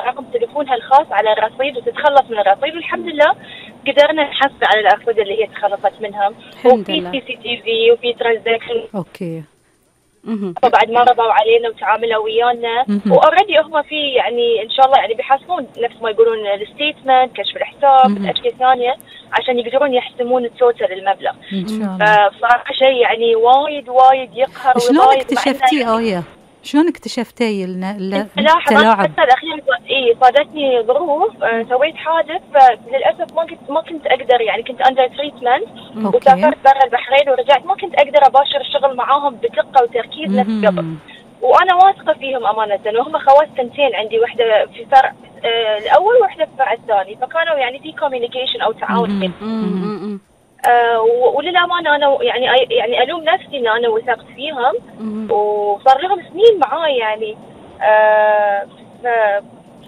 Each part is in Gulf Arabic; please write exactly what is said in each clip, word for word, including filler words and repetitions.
رقم تليفونها الخاص على الرصيد وتتخلص من الرصيد، والحمد لله قدرنا نحصل على الأرصدة اللي هي تخلصت منهم، وفي سي سي تي في وفي ترانزاكشن. اوكي. فبعد ما رضوا علينا وتعاملوا ويانا، واوريدي هم في يعني ان شاء الله يعني بيحاسبون نفس ما يقولون الستيتمنت، كشف الحساب، اشياء ثانيه عشان يقدرون يحسمون التوتال المبلغ. ان شاء الله. فصراحه شيء يعني وايد وايد يقهر ويضايق. شلون اكتشفتي آية؟ شلون اكتشفتي التلاعب؟ الحتى الأخير إيه صادتني ظروف، آه سويت حادث، فللأسف ما كنت ما كنت أقدر يعني كنت أندر تريتمنت، وسافرت برا البحرين ورجعت ما كنت أقدر أباشر الشغل معاهم بدقة وتركيز نفس قبل، وأنا واثقة فيهم أمانة، وهم خوات سنتين عندي، واحدة في فرع آه الأول وواحدة في الفرع الثاني، فكانوا يعني في كوميونيكيشن أو تعاون. آه وللأمانة أنا يعني يعني ألوم نفسي إن أنا وثقت فيهم، وصار لهم سنين معاي يعني. آه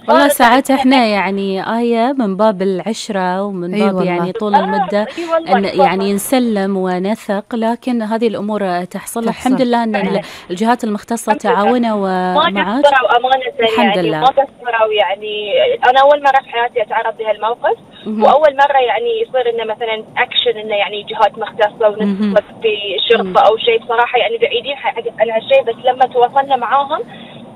والله ساعات احنا يعني آية من باب العشرة ومن باب أيوة يعني طول المدة آه أن يعني نسلم ونثق، لكن هذه الأمور تحصل. الحمد لله أن الجهات المختصة تعاونوا ومعاك. ما قصروا أمانة الحمد يعني لله. ما قصروا يعني. أنا أول مرة في حياتي أتعرض لهالموقف، وأول مرة يعني يصير إنه مثلا أكشن إنه يعني جهات مختصة ونتصل في شرطة أو شيء، بصراحة يعني بعيدين عن هالشيء، بس لما تواصلنا معاهم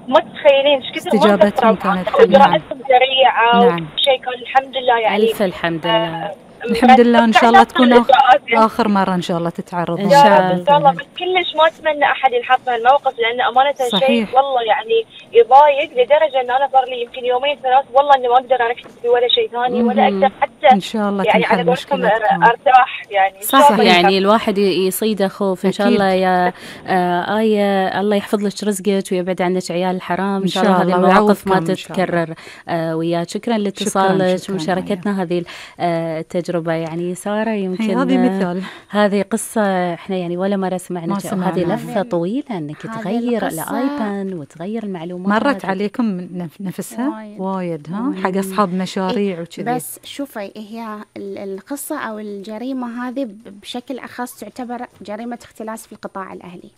ما تتخيلين ايش كثر استجابتهم كانت اجراءاتهم سريعه. نعم. وشيء كان الحمد لله يعني الف الحمد لله. آه الحمد لله. ان شاء الله تكون اخر مره ان شاء الله تتعرض ان شاء الله. ان شاء الله. بس كلش ما اتمنى احد ينحط في الموقف، لان امانه شيء والله يعني يضايق لدرجه ان انا صار لي يمكن يومين ثلاث والله اني ما اقدر اركز في ولا شيء ثاني ولا اقدر حتى ان شاء الله يعني على قولكم ارتاح يعني. صح يعني الواحد يصيده خوف. ان شاء الله يا آه آية الله يحفظ لك رزقك ويبعد عنك عيال الحرام. ان شاء الله هذه المواقف ما تتكرر آه وياك. شكرا لاتصالك ومشاركتنا هذه التجربه. يعني سارة يمكن هذه مثال، هذه قصة احنا يعني ولا مرة سمعنا. هذه لفة طويلة انك تغير الايبان وتغير المعلومات. مرت عليكم نفسها وايد, وايد ها حق اصحاب مشاريع وكذي. بس شوفي هي القصة او الجريمة هذه بشكل اخص تعتبر جريمة اختلاس في القطاع الاهلي.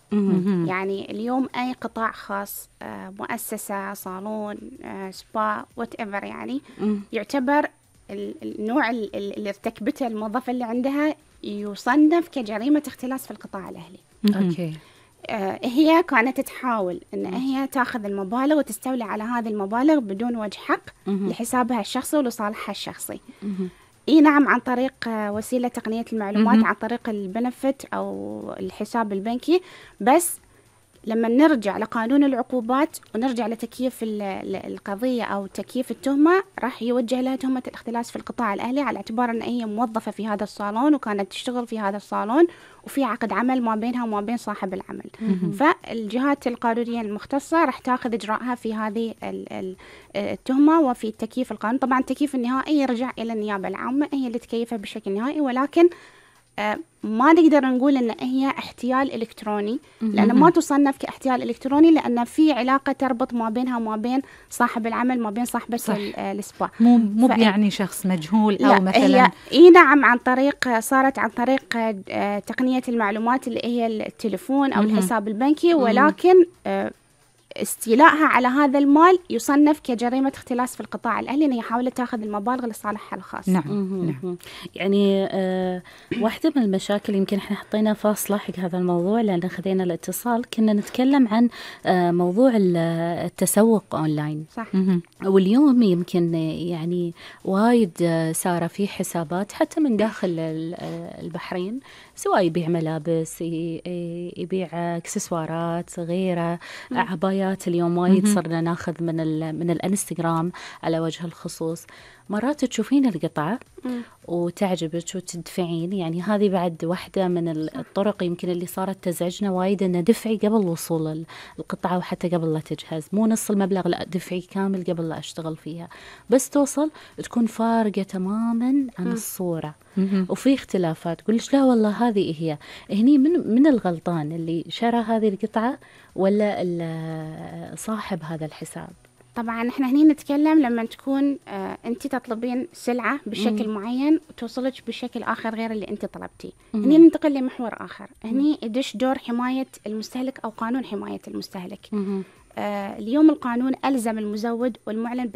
يعني اليوم اي قطاع خاص، مؤسسة، صالون، سبا، وات ايفر، يعني يعتبر النوع اللي ارتكبته الموظفة اللي عندها يصنف كجريمة اختلاس في القطاع الأهلي. أوكي. آه هي كانت تحاول أن هي تأخذ المبالغ وتستولي على هذه المبالغ بدون وجه حق لحسابها الشخصي ولصالحها الشخصي. إيه نعم، عن طريق وسيلة تقنية المعلومات، عن طريق البنفت أو الحساب البنكي. بس لما نرجع لقانون العقوبات ونرجع لتكييف القضية أو تكييف التهمة، راح يوجه لها تهمة الاختلاس في القطاع الأهلي على اعتبار أن هي موظفة في هذا الصالون وكانت تشتغل في هذا الصالون وفي عقد عمل ما بينها وما بين صاحب العمل. فالجهات القانونية المختصة راح تأخذ إجراءها في هذه التهمة وفي التكييف القانوني. طبعا التكييف النهائي يرجع إلى النيابة العامة، هي اللي تكيفها بشكل نهائي، ولكن آه ما نقدر نقول ان هي احتيال الكتروني، لان ما تصنف كاحتيال الكتروني، لان في علاقه تربط ما بينها وما بين صاحب العمل، ما بين صاحبه السبا. مو مو يعني شخص مجهول او مثلا. هي اي نعم، عن طريق صارت عن طريق آه تقنيه المعلومات اللي هي التليفون او الحساب البنكي، ولكن آه استيلائها على هذا المال يصنف كجريمة اختلاس في القطاع الأهلي، أنها حاولت تأخذ المبالغ لصالحها الخاص. نعم. نعم. يعني آه واحدة من المشاكل يمكن احنا حطينا فاصلة حق هذا الموضوع لأن خذينا الاتصال، كنا نتكلم عن آه موضوع التسوق أونلاين. صح. واليوم يمكن يعني وايد صار في حسابات حتى من داخل البحرين، سواء يبيع ملابس، يبيع اكسسوارات، غيره، عبايات. اليوم وايد صرنا ناخذ من من الانستغرام على وجه الخصوص. مرات تشوفين القطعة وتعجبك وتدفعين. يعني هذه بعد واحدة من الطرق يمكن اللي صارت تزعجنا وايد، أن دفعي قبل وصول القطعة وحتى قبل لا تجهز، مو نص المبلغ، لا دفعي كامل قبل لا أشتغل فيها. بس توصل تكون فارقة تماما عن الصورة وفي اختلافات. قلش لا والله هذه هي. هني من من الغلطان اللي شرى هذه القطعة ولا صاحب هذا الحساب؟ طبعا احنا هني نتكلم لما تكون آه انت تطلبين سلعة بشكل مم. معين وتوصلك بشكل آخر غير اللي انت طلبتيه. هني ننتقل لمحور آخر، هني يدش دور حماية المستهلك أو قانون حماية المستهلك. آه اليوم القانون ألزم المزود والمعلن